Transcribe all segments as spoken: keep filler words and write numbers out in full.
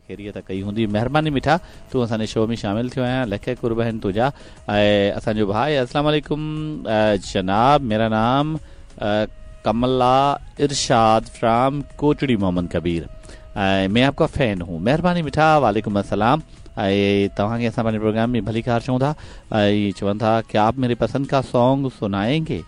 خيريت ڪئي هوندي. مهرباني مٺا، تون اسان جي شو ۾ شامل ٿيو آهين، لک قرب آهن تنهنجا. ۽ اسان جو ڀاء، السلام عليڪم جناب، ميرا نام कमला इरशाद फ्राम कोटड़ी मोहम्मद कबीर, मैं आपका फैन हूँ। मेहरबानी मिठा, वालेकुम अस्सलाम। ऐं तव्हांखे असां पंहिंजे प्रोग्राम में भलीकार चऊं था। ऐं चवनि था क्या आप मेरे पसंद का सॉन्ग सुनाएंगे?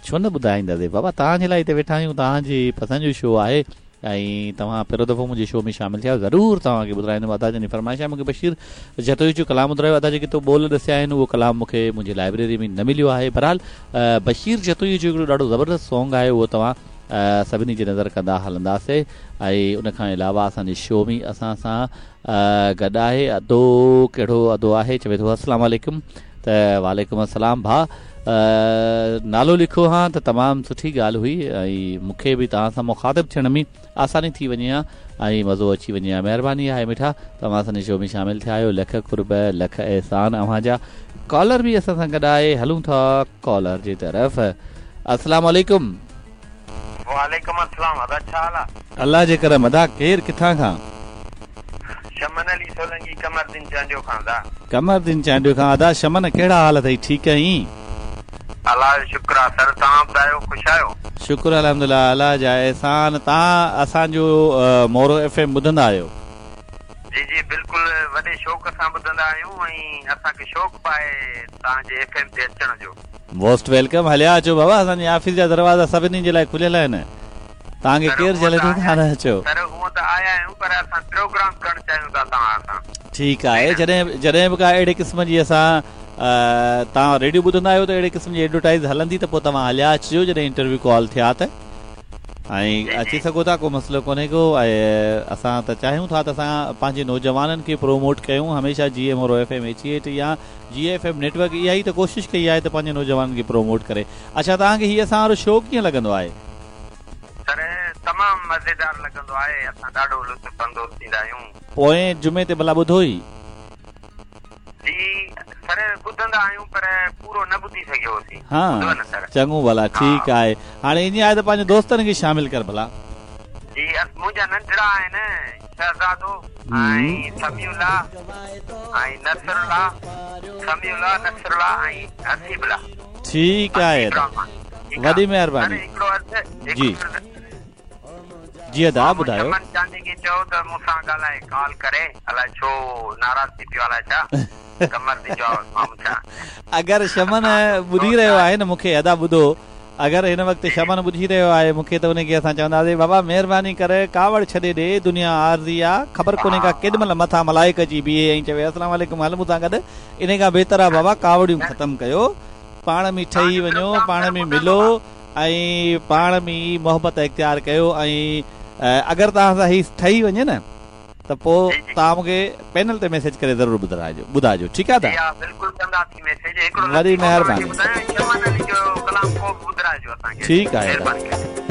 छो न ॿुधाईंदासीं बाबा, तव्हांजे लाइ हिते वेठा आहियूं, तव्हांजी पसंदि जो शो आहे ऐं तव्हां पहिरियों दफ़ो मुंहिंजे शो में शामिल थिया, ज़रूरु तव्हांखे ॿुधाईंदुमि। अदा जन फरमाइश आहे मूंखे बशीर जतोई जो कलाम ॿुधायो। अदा जेके तो ॿोल ॾसिया आहिनि उहो कलाम मूंखे मुंहिंजी लाइब्रेरी में न मिलियो आहे। बहरहाल बशीर जतोई जो हिकिड़ो ॾाढो ज़बरदस्त सॉन्ग आहे, उहो तव्हां सभिनी जी नज़र कंदा हलंदासीं। ऐं उन खां अलावा असांजे शो में असां सां गॾु आहे अदो, कहिड़ो अदो आहे, चवे थो अस्सलाम वालेकुम। त वालेकुम अस्सलाम भाउ, नालो लिखो हा त तमामु सुठी ॻाल्हि हुई ऐं मूंखे बि तव्हां सां मुखातिब थियण में आसानी थी वञे हा ऐं मज़ो अची वञे हा। महिरबानी आहे मिठा, तव्हां असांजे शो में शामिल थिया आहियो, लख कुर्ब लख एहसान अव्हां जा। कॉलर बि असां सां गॾु आहे, हलूं था कॉलर जे तरफ़। अस्सलाम वालेकुम। वालेकुम अस्सलाम। अदा छा हाल आहे? अलाह जे करम। अदा केरु किथां खां? शमन अली सोलंगी, कमरदीन चांडियो खां। अदा कमरदीन चांडियो खां। अदा शमन कहिड़ा हाल अथई? ठीकु आहीं? अलाह जो शुक्र आहे सर, तव्हां ॿुधायो, ख़ुशि आहियो? शुक्र अल्हम्दुलिल्लाह, अलाह जा एहसान। तव्हां असांजो मोरो एफ एम ॿुधंदा आहियो? जी जी बिल्कुलु, वॾे शौक़ सां ॿुधंदा आहियूं ऐं असांखे शौक़ु बि आहे तव्हांजे एफ एम ते अचण जो। मोस्ट welcome, हलिया अचो बाबा, असांजे ऑफिस जा दरवाज़ा सभिनी जे लाइ खुलियल आहिनि, तव्हांखे केरु झले थो तव्हां न अचो। सर हूअं त आया आहियूं पर असां प्रोग्राम करणु चाहियूं था तव्हां सां। ठीकु आहे, जॾहिं जॾहिं बि का अहिड़े क़िस्म जी असां तव्हां रेडियो ॿुधंदा आहियो त अहिड़े क़िस्म जी एडवर्टाइज़ हलंदी त पोइ तव्हां हलिया अचिजो, जॾहिं इंटरव्यू कॉल थिया त ऐं अची सघो था, को मसइलो कोन्हे को। ऐं असां त चाहियूं था त असां पंहिंजे नौजवाननि खे प्रोमोट कयूं हमेशह। G M Moro F M eighty eight या जी एफ एम नेटवर्क इहा ई त कोशिशि कई आहे त पंहिंजे नौजवाननि खे प्रोमोट करे। अच्छा, तव्हांखे हीअ असां वारो शो कीअं लॻंदो आहे? सर तमामु मज़ेदार लॻंदो आहे, असां ॾाढो लुत्फ़ अंदोज़ थींदा आहियूं। पोएं जुमे ते भला ॿुधो ई? जी सर ॿुधंदा आहियूं पर पूरो न ॿुधी सघियोसीं। हा चङो भला, ठीकु आहे। हाणे ईअं आहे त पंहिंजे दोस्तनि खे शामिल कर भला। जी मुंहिंजा नंढड़ा आहिनि, शहज़ादो ऐं समीउल्ला ऐं नसरुल्ला, समीउल्ला नसरुल्ला ऐं हसीबुल्ला। ठीकु आहे, वॾी महिरबानी। जी जी अदा ॿुधायो। शमन चांदी खे चओ त मूंसां ॻाल्हाए, कॉल करे, अलाए छो नाराज़ थी पियो अलाए छा। अगरि शमन ॿुधी रहियो आहे न मूंखे, अदा ॿुधो, अगरि हिन वक़्तु शमन ॿुधी रहियो आहे मूंखे त उनखे असां चवंदासीं बाबा महिरबानी करे कावड़ छॾे ॾे, दुनिया आर्ज़ी आहे, ख़बर कोन्हे का केॾी महिल मथां मलाइक अची बीहे ऐं चवे अस्सलाम वालेकुम हल मूंसां गॾु। इन खां बहितर आहे बाबा कावड़ियूं ख़तमु कयो, पाण में ठही वञो, पाण में मिलो ऐं पाण में मोहबत इख़्तियार कयो। ऐं अगरि तव्हां सां हीअ ठही वञे न त पोइ तव्हां मूंखे पैनल ते मैसेज करे ज़रूरु ॿुधाइजो ॿुधाइजो ठीकु आहे? वॾी महिरबानी, ठीकु आहे।